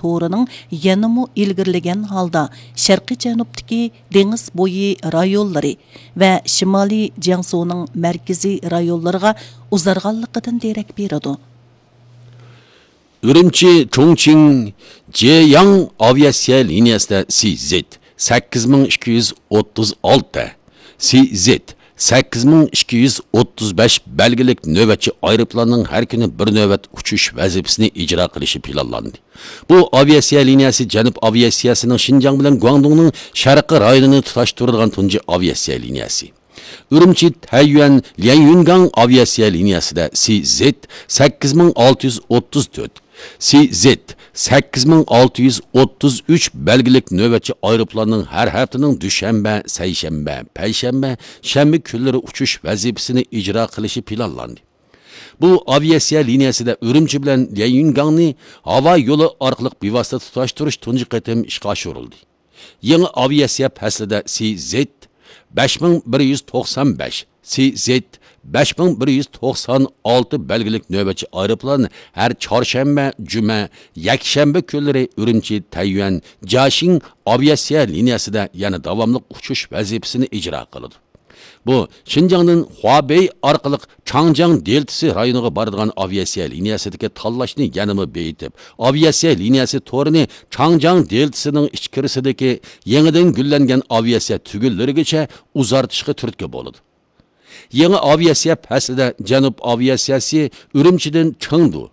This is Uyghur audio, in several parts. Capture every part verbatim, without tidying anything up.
تورىنىڭ يەنىمۇ ئىلگىرىلىگەن ھالدا شەرقىي جەنۇبتىكى دېڭىز بويى رايونلىرى ۋە شىمالىي جياڭسۇنىڭ مەركىزىي رايونلىرىغا ئۇزارغانلىقىدىن دېرەك بېرىدۇ. ئۈرۈمچى چۇڭچىڭ جيەياڭ ئاۋىئاتسىيە لىنىيەسىدە سى زېد سەككىز مىڭ ئىككى يۈز ئوتتۇز ئالتە، سى زېد سەككىز مىڭ ئىككى يۈز ئوتتۇز بەش بەلگىلىك نۆۋەتچى ئايروپىلاننىڭ ھەر كۈنى بىر نۆۋەت ئۇچۇش ۋەزىپىسىنى ئىجرا قىلىشى پىلانلاندى. بۇ ئاۋىئاتسىيە لىنىيەسى جەنۇب ئاۋىئاتسىيەسىنىڭ شىنجاڭ بىلەن گۇاڭدۇڭنىڭ شەرقىي رايونىنى تۇتاشتۇرىدىغان تۇنجى ئاۋىئاتسىيە لىنىيەسى. ئۈرۈمچى تەييۈەن ليەنيۈنگاڭ ئاۋىئاتسىيە لىنىيەسىدە سى زېد سەككىز مىڭ ئالتە يۈز ئوتتۇز تۆت، سى زېد سەككىز مىڭ ئالتە يۈز ئوتتۇز ئۈچ بەلگىلىك نۆۋەتچى ئايروپىلاننىڭ ھەر ھەپتىنىڭ دۈشەنبە، سەيشەنبە، پەيشەنبە، شەنبە كۈنلىرى ئۇچۇش ۋەزىپىسىنى ئىجرا قىلىشى پىلانلاندى. بۇ ئاۋىئاتسىيە لىنىيەسىدە ئۈرۈمچى بىلەن ليەنيۈنگاڭنى ھاۋا يولى ئارقىلىق بىۋاسىتە تۇتاشتۇرۇش تۇنجى قېتىم ئىشقا ئاشۇرۇلدى. يېڭى ئاۋىئاتسىيە پەسلىدە سى زېد بەش مىڭ بىر يۈز توقسان بەش، سى زېد بەش مىڭ بىر يۈز توقسان ئالتە بەلگىلىك نۆۋەتچى ئايروپىلان ھەر چارشەنبە، جۈمە، يەكشەنبە كۈنلىرى ئۈرۈمچى تەييۈەن جياشىڭ ئاۋىئاتسىيە لىنىيەسىدە يەنە داۋاملىق ئۇچۇش ۋەزىپىسىنى ئىجرا قىلىدۇ. بۇ، شىنجاڭدىن خۇابېي ئارقىلىق چاڭجياڭ دېلتىسى رايونىغا بارىدىغان ئاۋىئاتسىيە لىنىيەسىدىكى تاللاشنى يەنىمۇ بېيىتىپ، ئاۋىئاتسىيە لىنىيەسى تورىنى چاڭجياڭ دېلتىسىنىڭ ئىچكىرىسىدىكى يېڭىدىن گۈللەنگەن ئاۋىئاتسىيە تۈگۈنلىرىگىچە ئۇزارتىشقا تۈرتكە بولىدۇ. يېڭى ئاۋىئاتسىيە پەسلىدە جەنۇب ئاۋىئاتسىيەسى ئۈرۈمچىدىن چېڭدۇ،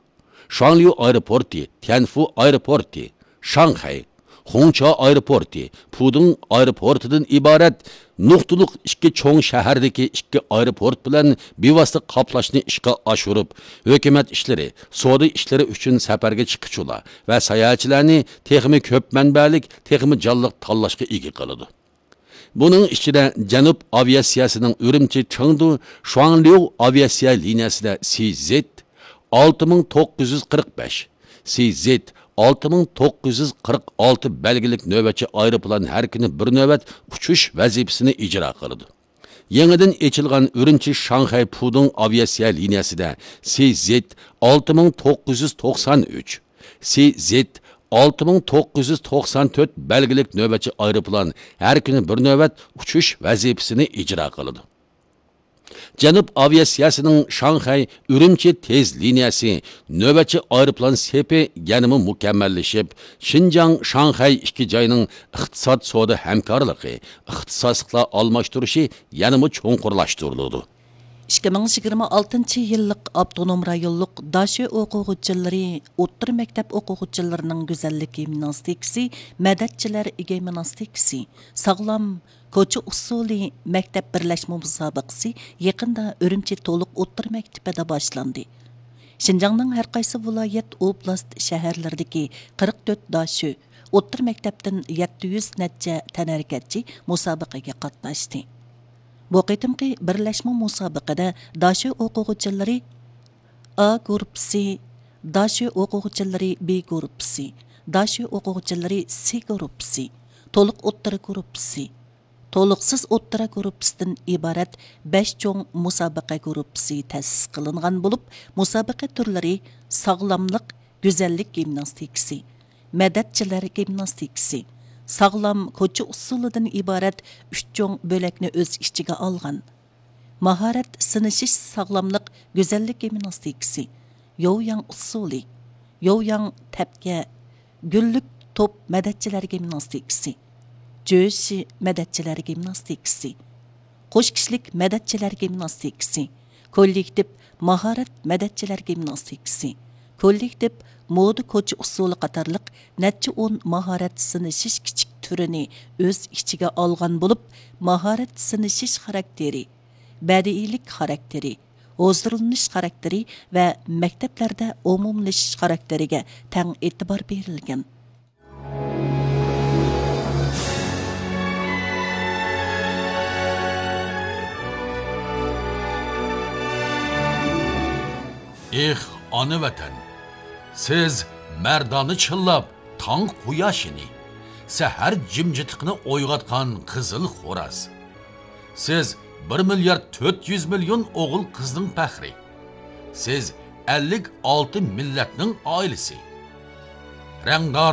شۇاڭليۇ ئايروپورتى، تيەنفۇ ئايروپورتى، شاڭخەي، خۇڭچا ئايروپورتى، پۇدۇڭ ئايروپورتىدىن ئىبارەت نۇقتىلىق ئىككى چوڭ شەھەردىكى ئىككى ئايروپورت بىلەن بىۋاسىتە قاپلاشنى ئىشقا ئاشۇرۇپ، ھۆكۈمەت ئىشلىرى، سودا ئىشلىرى ئۈچۈن سەپەرگە چىققۇچىلار ۋە ساياھەتچىلەرنى تېخىمۇ كۆپ مەنبەلىك، تېخىمۇ جانلىق تاللاشقا ئىگە قىلىدۇ. بۇنىڭ ئىچىدە جەنۇب ئاۋىئاتسىيەسىنىڭ ئۈرۈمچى چېڭدۇ شۇاڭليۇ ئاۋىئاتسىيە لىنىيەسىدە سى زېد ئالتە مىڭ توققۇز يۈز قىرىق بەش، سى زېد ئالتە مىڭ توققۇز يۈز قىرىق ئالتە بەلگىلىك نۆۋەتچى ئايروپىلان ھەر كۈنى بىر نۆۋەت ئۇچۇش ۋەزىپىسىنى ئىجرا قىلىدۇ. يېڭىدىن ئېچىلغان ئۈرۈمچى شاڭخەي پۇدۇڭ ئاۋىئاتسىيە لىنىيەسىدە سى زېد ئالتە مىڭ توققۇز يۈز توقسان ئۈچ، سى زېد ئالتە مىڭ توققۇز يۈز توقسان تۆت بەلگىلىك نۆۋەتچى ئايروپىلان ھەر كۈنى بىر نۆۋەت ئۇچۇش ۋەزىپىسىنى ئىجرا قىلىدۇ. جەنۇب ئاۋىئاتسىيەسىنىڭ شاڭخەي ئۈرۈمچى تېز لىنىيەسى نۆۋەتچى ئايروپىلان سېپى يەنىمۇ مۇكەممەللىشىپ، شىنجاڭ شاڭخەي ئىككى جاينىڭ ئىقتىساد سودا ھەمكارلىقى، ئىختىساسلىقلار ئالماشتۇرۇشى يەنىمۇ چوڭقۇرلاشتۇرۇلىدۇ. ئىككى مىڭ يىگىرمە ئالتىنچى يىللىق ئاپتونوم رايونلۇق داشۆ ئوقۇغۇچىلىرى ئوتتۇرا مەكتەپ ئوقۇغۇچىلىرىنىڭ گۈزەللىك گىمناستىكىسى، مەدەتچىلەر گىمناستىكىسى، ساغلام كوچا ئۇسسۇلى مەكتەپ بىرلەشمە مۇسابىقىسى يېقىندا ئۈرۈمچى تولۇق ئوتتۇرا مەكتىپىدە باشلاندى. شىنجاڭنىڭ ھەر قايسى ۋىلايەت، ئوبلاست، شەھەرلىرىدىكى قىرىق تۆت داشۆ، ئوتتۇرا مەكتەپتىن يەتتە يۈز نەچچە تەنھەرىكەتچى مۇسابىقىگە قاتناشتى. بۇ قېتىمقى بىرلەشمە مۇسابىقىدە داشۆ ئوقۇغۇچىلىرى ئا گۇرۇپپىسى، داشۆ ئوقۇغۇچىلىرى بى گۇرۇپپىسى، داشۆ ئوقۇغۇچىلىرى سى گۇرۇپپىسى، تولۇق ئوتتۇرا گۇرۇپپىسى، تولۇقسىز ئوتتۇرا گۇرۇپپىسىدىن ئىبارەت بەش چوڭ مۇسابىقە گۇرۇپپىسى تەسىس قىلىنغان بولۇپ، مۇسابىقە تۈرلىرى ساغلاملىق، گۈزەللىك گىمناستىكىسى، مەدەتچىلەر گىمناستىكىسى، ساغلام كوچا ئۇسسۇلىدىن ئىبارەت ئۈچ چوڭ بۆلەكنى ئۆز ئىچىگە ئالغان. ماھارەت سىنىشىش ساغلاملىق گۈزەللىك گىمناستىكىسى، يوۋياڭ ئۇسسۇلى، يوۋياڭ تەپكە، گۈللۈك توپ مەدەتچىلەر گىمناستىكىسى، جۆشى مەدەتچىلەر گىمناستىكىسى، قوش كىشىلىك مەدەتچىلەر گىمناستىكىسى، كوللېكتىپ ماھارەت مەدەتچىلەر گىمناستىكىسى، كوللېكتىپ مودا كوچا ئۇسسۇلى قاتارلىق نەچچە ئون ماھارەت سىنىشىش كىچىك تۈرىنى ئۆز ئىچىگە ئالغان بولۇپ، ماھارەت سىنىشىش خاراكتېرى، بەدىئىيلىك خاراكتېرى، ھۇزۇرلىنىش خاراكتېرى ۋە مەكتەپلەردە ئومۇملىشىش خاراكتېرىگە تەڭ ئېتىبار بېرىلگەن. ئېھ، ئانا ۋەتەن! سىز مەردانە چىللاپ تاڭ قۇياشىنى، سەھەر جىمجىتلىقىنى ئويغاتقان قىزىل خوراز. سىز بىر مىليارد تۆت يۈز مىليون ئوغۇل قىزنىڭ پەخرى. سىز ئەللىك ئالتە مىللەتنىڭ ئائىلىسى. رەڭدار